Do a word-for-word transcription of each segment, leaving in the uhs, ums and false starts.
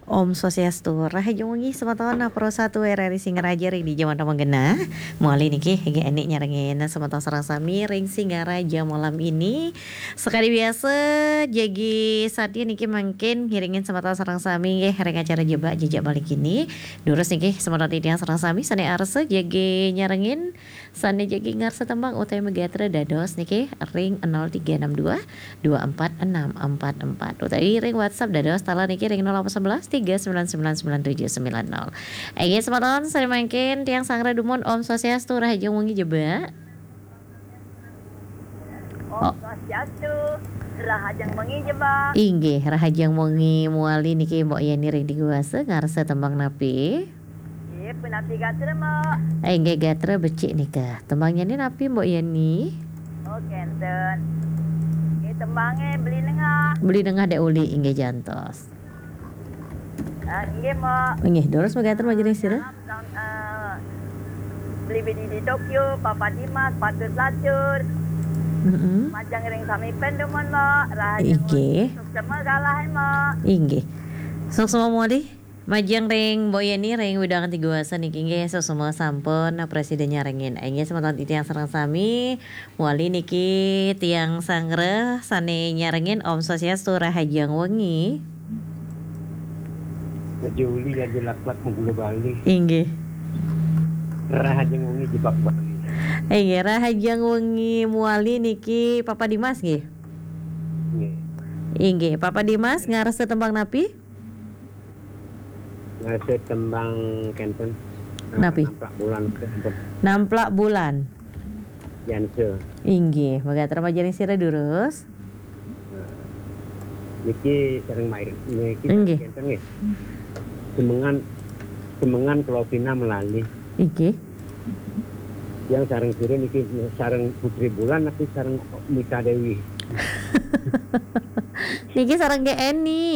Om Swastiastu, rahajeng wengi semeton Pro satu R R I Singaraja ring dija manten magenah. Mawali niki, inggih Eni nyarengin semeton sareng sami ring Singaraja malam ini. Sakadi biasa, jagi satia niki mangkin ngiringin semeton sareng sami nggih ring acara Jebak Jejak Bali kini. Durus niki semeton titiang sareng sami sane arsa jagi nyarengin, sane jagi ngarsa tembang utawi magatra dados niki ring nol tiga enam dua dua empat enam empat empat utawi ring WhatsApp dados taler niki ring nol delapan sebelas tiga sembilan sembilan sembilan tujuh sembilan nol. Inggih semeton, sane mangkin tiang sanggra dumun, Om Swastiastu, rahajeng wengi Jebak. Om Oh. Swastiastu, rahajeng wengi Jebak. Inggih, rahajeng wengi mawali niki Mbok Yeni ring Tigawasa, ngarsa tembang napi? Nggih, punapi gatra, Mbok? Eh, inggih gatra becik nika. Tembang nyane napi, Mbok Yeni? Oh, kenten. Nggih, tembange Beli Nengah. Beli Nengah dek uli, inggih jantos. Ah, nggih, Mbok. Inggih, durus magatra majeng ring sira. Salam, salam, eh, Beli Bedi di Tokyo, Papa Dimas, Patut Lacur. Mm-mm. Majeng ring sami pen dumun, Mbok. Rahajeng wengi. Inggih. Suksma galah, Mbok. Inggih. Suksma mawali. Majeng ring Mbok Yeni ring wewidangan Tigawasa niki nggih, suksma sampun prasida nyarengin. Inggih semeton titiang sareng sami, mawali niki tiang sanggra sane nyarengin, Om Swastiastu, rahajeng wengi. Raja Uli, Raja Laklak, Menggula Bali. Inggih. Rahajeng wengi Jebak Bali. Inggih, rahajeng wengi mawali niki Papa Dimas nggih. Nggih. Inggih, Papa Dimas ngarsa tembang napi? Ngarsa tembang kenten. Napi? Namplak Bulan kenten. Namplak Bulan. Yansa. Inggih, magatra majeng ring sira durus. Nah, niki sareng main, niki Inggih. Kenten nggih. Semengan, semengan Kula Pina melali. Inggih. Yang sareng sira niki sareng Putri Bulan tapi sareng Mita Dewi. Niki sareng Nggih Eni.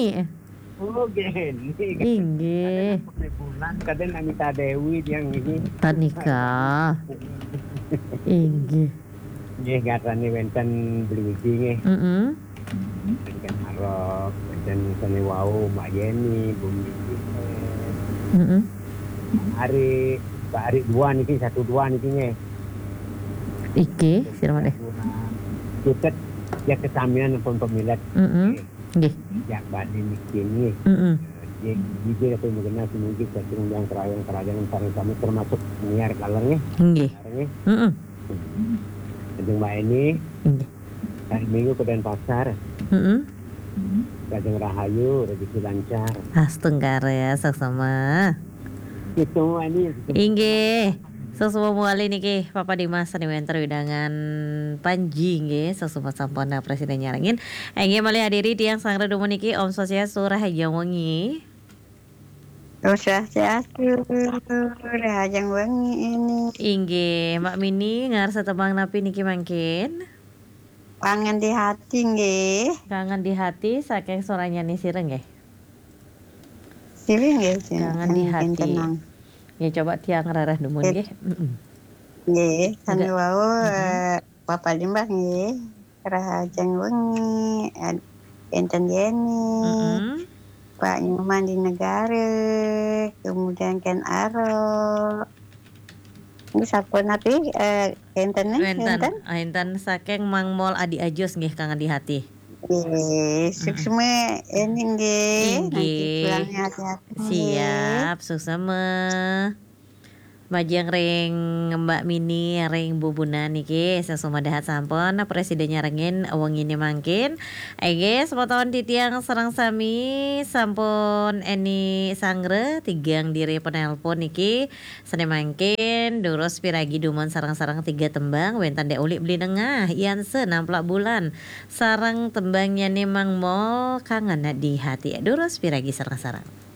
Oh, Nggih Eni. Inggih. Kadang Putri Bulan, kadang Mita Dewi yang ini. Tan nika. Inggih. Nggih, gatrane wenten Beli Widi nggih. Mm-mm. Wenten Arok, wenten sane wau, Mbak Yeni, Bumi Yusuf. Mm-mm. Ari, Mbak Ari dua niki, satu dua niki nggih. Iki, sira malih. Cutet ya kesamian pun pemilet. Mm-mm. Nggih. Nggih. Jak Bali niki nggih. Mm-mm. Nggih, nggih, nggih, aku mengenal semuanya, sing yang kerayang-kerayang sareng sami termasuk niar kaler nggih. Nggih. Sareng nggih. Mm-mm. Kanjeng Mbak Eni, Inggih. Hari Minggu ke Denpasar. Mm-mm. Kanjeng Rahayu, rezeki lancar. Astungkara, suksma. Itu Mbak Eni. Inggih. Suksma mawali niki, Papa Dimas sane wenten wewidangan Panji nggih, suksma sampun prasida nyarengin. Inggih malih hadiri tiang sanggra dumun niki, Om Swastiastu, rahajeng wengi. Om Swastiastu, rahajeng wengi Eni. Inggih, Mbak Mini ngarsa tembang napi niki mangkin? Kangen di Hati nggih. Kangen di Hati saking Suranyani sira nggih. Sira nggih, sira. Kangen di Hati. Nggih, coba tiang rarah dumun nggih. Mm-mm. Nggih, sami wau, mm-mm. Eh, Papa Limbah nggih. Rahajeng wengi, ad-, enten Yeni, mm-mm. Pak Nyoman di Negara, kemudian Ken Aro. Ini sampun napi, eh, enten nih, wenten, enten? Enten saking Mang Mol Adi Ajus nggih, Kangen di Hati. Nggih, mm-mm. Suksma Eni nggih. Inggih. Nanti pulangnya hati-hati nggih. Siap, suksma. Majeng ring Mbak Mini ring Bubunan niki, suksma dahat sampun prasida nyarengin wengine mangkin. Inggih, semeton titiang sareng sami sampun Eni sanggra, tigang diri penelpon niki. Sane mangkin, durus piragi dumun sareng-sareng tiga tembang, wenten Dek Uli Beli Nengah, Yanse Namplak Bulan, sareng tembangnyane Mang Mol, Kangen di Hati. Durus piragi sareng-sareng.